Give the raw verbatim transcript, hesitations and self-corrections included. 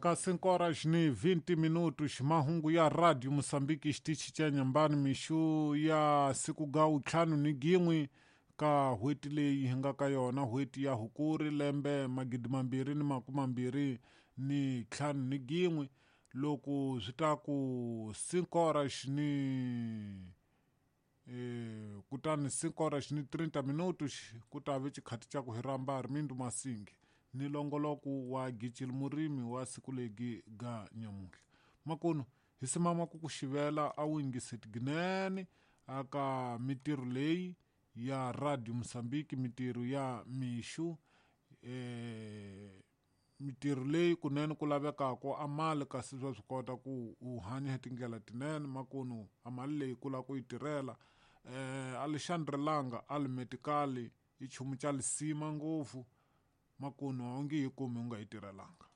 Ka cinco horas ni vinte minutos, mahungu ya Radio Mosambiki xitichi xa Nyambani mixu ya siku ga ntlhanu ni gin'we ka n'hweti leyi hi nga ka yona, n'hweti ya Hukuri lembe magidi mambirhi ni makume mambirhi ni ntlhanu ni gin'we. Loko swi ta ku cinco horas ni eh, kutani cinco horas ni trinta minutos ku ta ve xikhati xa ku hi rhamba Armindo Masingi ni longoloko wa Gicil Murimi wa siku legi ga nyamuhla. Makunu hi simama ku ku xivela a wu yingiseti ginene aka mitirho leyi ya Radio Mosambiki, mitirho ya mixu, eh, mitirho leyi kunene ku lavekaka a mali kasi swa swi kota ku u hanya hi tindlela tinene. Makunu a mali leyi ku lava ku yi tirhela, eh, Alexandre Langa a li metikali i nchumu xa lisima ngopfu. Makunu a wu nge yi kumi u nga yi tirhelanga.